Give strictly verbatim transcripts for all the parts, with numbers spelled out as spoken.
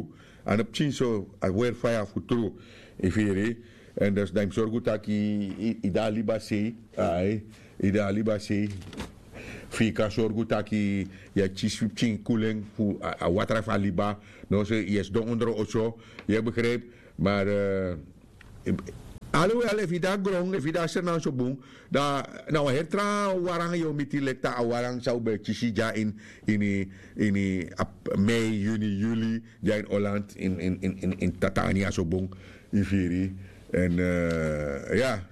tru. A no pikin so, a weri faya fu tru. Yu firi? Èn dus dan yu mus sorgu tak' yu de na liba sei. Ai, yu de na liba sei. Fu yu kan sorgu tak' yu e kisi fu pikin kulen fu a watra fu a liba. No so yu e sidon ondro oso. Yu e begripi? Ma Alowel efu yu de na gron, efu yu de na sernang so bun, dan na wan heri tra waran yu o miti, leki a waran san un ben kisi dya ini ini ini mei, yuni, yuli, dya ini Holland, ini tatania so bun, yu firi. Èn ya,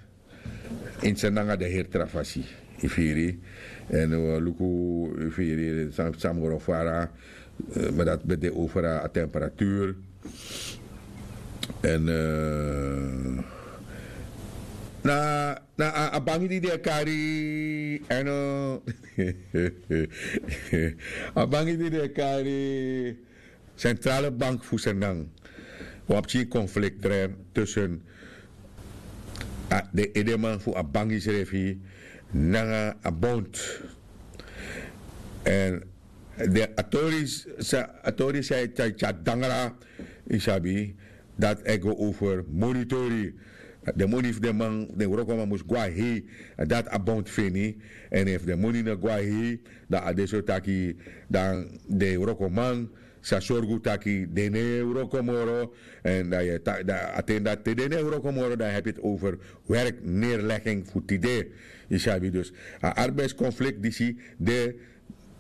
ini sernang a de heri tra fasi, yu firi. Èn un o luku, yu firi, san san mus gron fara. Ma dati ben de over a temperatuur. Èn na na a bangi di den e kari, èn a bangi di den e kari centrale bank fu sernang, wan pikin konfliktrèr tussen den edeman fu a bangi srefi nanga a bond. Èn den a tori san a tori san e tyari tyari dangra, yu sabi, dati e go over moni tori. Den moni fu den man, den wrokoman mus go na hei. Dati a bond feni. Èn efu den moni no go na hei, dan a de so taki dan den wrokoman sa sorgu taki den no e wroko moro. Èn dan yu e taki dan a ten dati te den no e wroko moro, dan yu e hebi eti over werkneerlegging fu tide. Yu sabi, dus a arbeidskonflikt disi de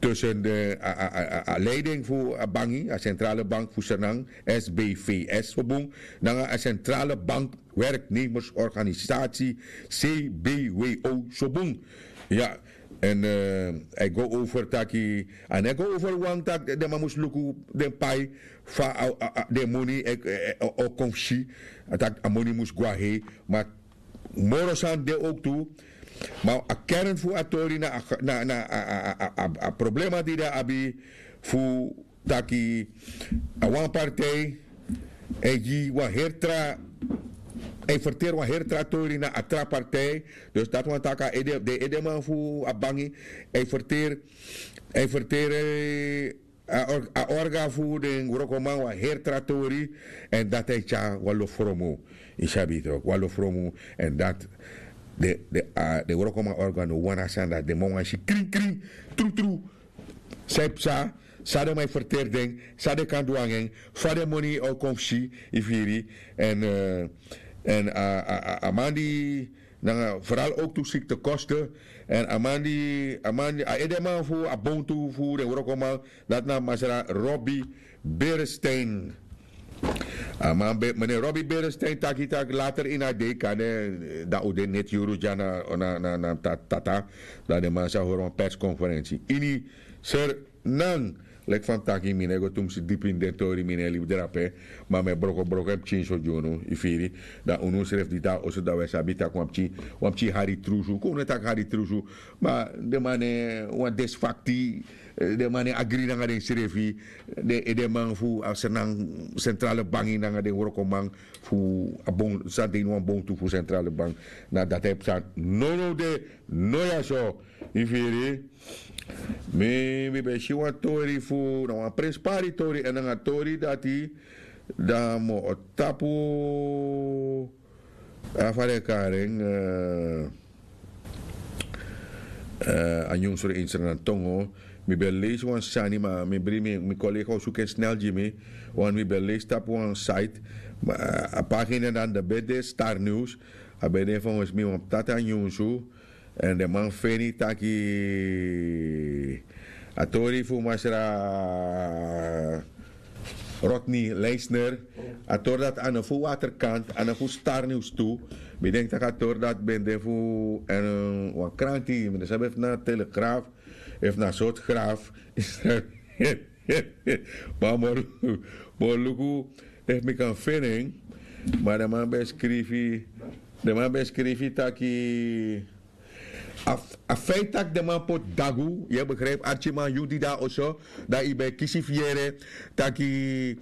tussen a leiding fu a bangi, a centrale bank fu sernang, sbvs so bun, nanga a centrale bank werknemersorganisatie, cbwo so bun. Ya. Èn a e go over taki, a no e go over wan taki den man mus luku den pai fa den moni o kon fu si, a taki a moni mus go na hei. Ma moro sani de owktu. Ma a kern fu a tori na a problema di den abi fu taki a wan partij e gi wan heri tra, e ferteri wan heri tra tori na a tra partij. Dus dati wani taki a ede den edeman fu a bangi e ferteri, e ferteri a orga fu den wrokoman wan heri tra tori. Èn dati e tyari wan lofromu, yu sabi, tok wan lofromu. Èn dati den wrokoman orga no wani a sani dati, den man wani si krin krin, trutru, san e psa, san den man e ferteri den, san den kan du nanga en, fa den moni o kon fu si, yu firi. Èn èn a man di nanga feral owktu sikte koste. Èn a man di a man di a edeman fu a bontu fu den wrokoman, dati na masra Robby Berestein. A man ben meneer Robby Berestein taki taki later ini a dei kande dan un de neti yuru dya na na na tata, dan den man sa hori wan perskonferensi ini sernan. Leki fa mi taki mi no e go tumsi dipi ini den tori, mi no e libi drape. Ma mi e brokobroko en pikin so gi unu, yu firi. Dan unu srefi di de na oso dan un e sabi tak' wan pikin wan pikin hari trusu kon unu e taki hari trusu. Ma den man no e wan desfakti, den man no e agri nanga densrefi. Den edeman fu a sernan sentrale bangi nanga den wrokoman fu a bon san de ini wan bontu fu sentrale bangi. Na dati e psa. Nownow de no ya so, yu firi. Mi mi ben si wan tori fu na wan prenspari tori èn nanga tori dati dan mi o tapu a fa den e kari en. A nyunsu de ini sernantongo. Mi ben leisi wan sani ma mi bri mi kolega o suku en snel gi mi. Wan mi ben leisi tapu wan site, a pagina dan de ben de star news. A ben de fongesi mi wan ptata nyunsu. Èn den man feni taki a tori fu masra Rodney Leisner, a tori dati a no fu waterkant a no fu star news tu. Mi denki tak' a tori dati ben de fu èn wan kranti mi no sabi efu na telegraf efu na sortu graf. Ma mi o luku efu mi kan feni en. Ma den man ben skrifi den man ben skrifi taki a feit tak' den man poti dagu yu e begripi arkiman yu di de na oso, dan yu ben e kisi fu yere taki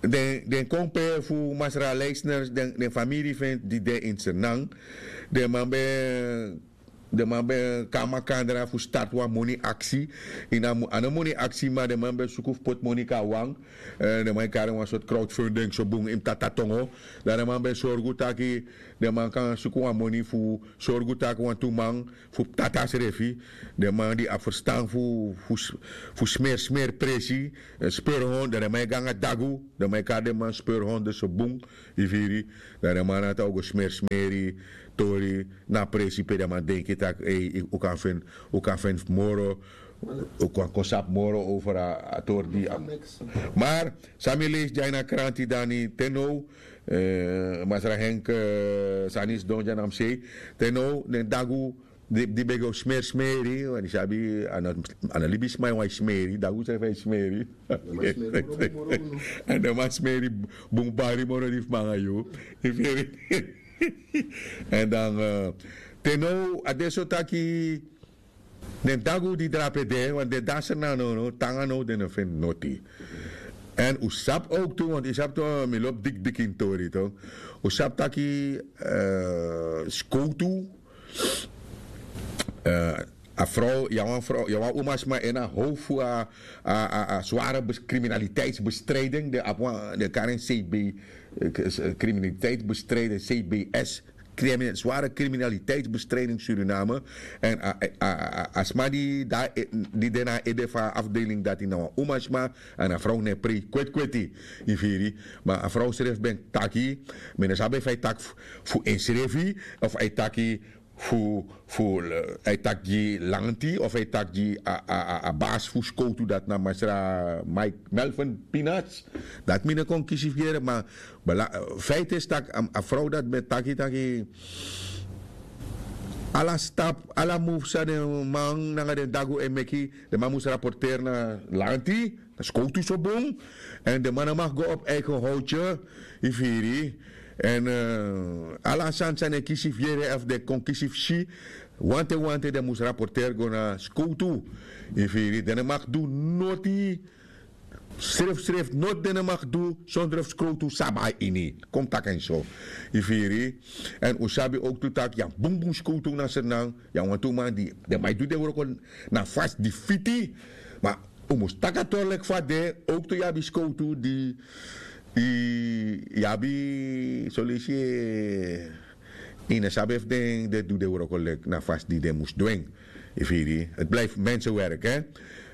den kon pe fu masra leisner den famiri fu en di de ini sernan. Den man ben Den man ben kon na makandra fu start wan moni aksi. Ini a no moni aksi ma den man ben suku fu poti moni kon na wan. Den man e kari wan sortu crowdfunding so bun ini tatatongo. Dan den man ben sorgu taki den man kan suku wan moni fu sorgu taki wantu man fu tata srefi, den man di abi ferstan fu smersmeri presi, speurhond, dan den man e go nanga dagu. Den man e kari den man speurhond so bun. Yu firi? Dan den man na tan o go smersmeri tori na a presi pe den man denki tak' un kan feni, un kan feni moro, un kan kon sabi moro over a tori di. Mar san mi leisi dya ini a kranti dani te now, masra henk, sani sidon dya na mi sei, te now den dagu di ben go smersmeri, want yu sabi a no libisma e wani smeri, dagu srefi e smeri. Èn den man smeri bun bari moro di fu mi nanga yu. Yu firi? Èn dan te now a de so taki den dagu di drape de want den danser na no no tanga no den no feni noti. Èn un sabi owktu want yu sabi tu mi lobi dikdiki ini tori tu, un sabi taki skowtu, a frow ya wan frow ya wan umasma en a how fu a sware kriminaliteitsbestriding den abi wan den kari en cb, kriminaliteitsbestriding cbs, sware kriminaliteitsbestriding suriname. Èn a sma di de na a ede fu a afdeling dati na wan umasma. Èn a frow no e prei kwetkweti. Yu firi? Ma a frow srefi ben taki, mi no sabi efu a e taki fu ensrefi of a e taki fu fu a e taki gi lanti of a e taki gi a basi fu skowtu dati na masra mike melvin pinas. Dati mi no kon kisi fu yere ma feite isi tak' a frow dati ben taki taki ala stap ala mufu san den man nanga den dagu e meki, den man mus raporteri na lanti, na skowtu so bun. Èn den man no mag go op eigen howtye. Yu firi? Èn ala a sani san den kisi fu yere efu den kon kisi fu si, wante wante den mus raporteri go na skowtu. Yu firi? Den no mag du noti. Srefsrefi noti den no mag du sondro fu skowtu sabi na ini. Kon mi taki en so. Yu firi? Èn un sabi owktu tak' yu abi bunbun skowtu na sernan. Yu abi wantu man di den man e du den wroko na fasi di fiti. Ma un mus taki a tori leki fa a de. Owktu yu abi skowtu di yu abi soleisi yu no sabi efu den du den wroko leki na fasi di den mus du en. Yu firi? Heti blijfi mensenwerk.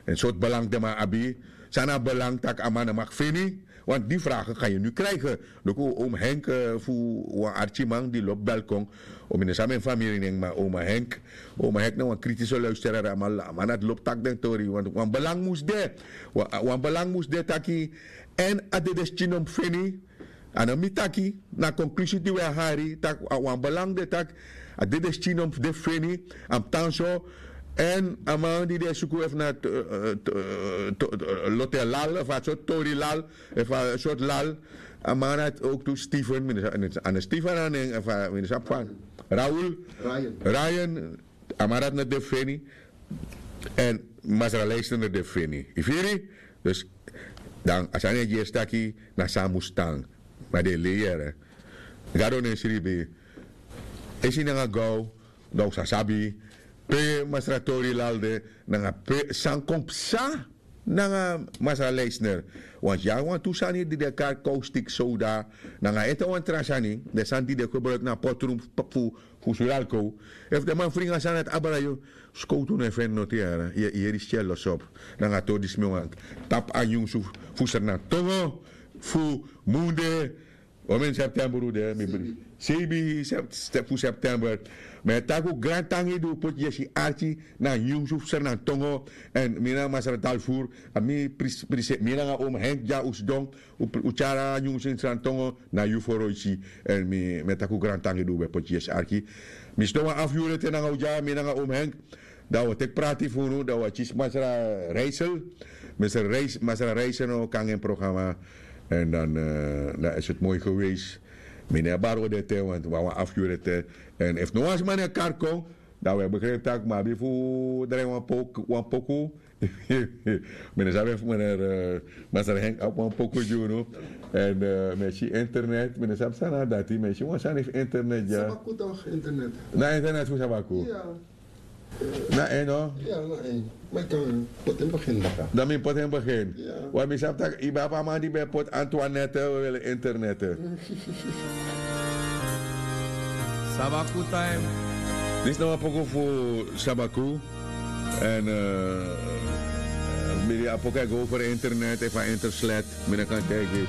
En sortu belang den man abi. San na a belang tak' a man no mag feni? Want di fragen kan yu nu krijgen. Luku oom henk fu wan arkiman di lobi belkon. Omi no sabi en famiri nen ma oom henk, oom henk na wan kritiso luisterari a man dati lobi taki den tori want wan belang mus de. Wan belang mus de taki èn a dedeskin no mus feni. A no mi taki na a konklusi di wi e hari tak' wan belang de tak' a dedeskin no mus de fu feni. A mus tan so. Èn a man di den e suku efu na lotelal efu a sortu torilal efu a sortu lal. A man dati owktu steven, a no steven a nen efu a mi no sabi fa. Raul, ryan. A man dati no de fu feni. Èn masra leisner no de fu feni. Yu firi? Dus dan a sani e gi esi taki na san a mus tan. Ma den e lei yere. Gado no e sribi. Esi nanga gaw dan un sa sabi pe masra tori lal de nanga pe san kon psa nanga masra leisner. Wantu yu abi wantu sani di den e kari kowstik sowda nanga ete wan tra sani den sani di den gebruiki na a potrun fu suralko. Efu den man fringi a sani dati abra yu, skowtu no e feni noti yara. Yu e yeri skel losopu nanga a tori disi mi wani tapu a nyunsu fu sernan tongo fu munde. Omeni september un de mi bri seibi fu september. Mi e taki un grantangi di un poti yesi arki na a nyunsu fu sernan tongo. Èn mi nanga masra dalfur a mi prise mi nanga omi henk dya un sidon. Un tyari a nyunsu ini sernan tongo na yu foroisi. Èn mi e taki un grantangi di un ben poti yesi arki. Mi sidon wan afu yuru ete nanga un dya mi nanga omi henk. Dan wi o teki prati fu unu dan wi o kisi masra reisel. Masra reisel no kan en programa. Èn dan dan is heti moi gewees. Mi no e bari odi ete want wi abi wan afu yuru ete. Èn efu no wan sma no e kari kon dan wi e begripi tak' mi abi fu drai wan poku. Mi no sabi efu meneer masra henk abi wan poku gi unu. Èn mi e si internet mi no sabi san na dati mi e si wan sani fu internet dya. Na internet fu sabaku. Na en no? Ya, na en. Ma yu kan poti en begin baka. Dan mi poti en begin. Ya. Wan mi sabi tak' yu ben abi a man di ben poti Antoinette, we wili internete. Sabaku time. Disi na wan poku fu Sabaku. En mi di a poku e go over internet efu a internet, mi no kan taigi.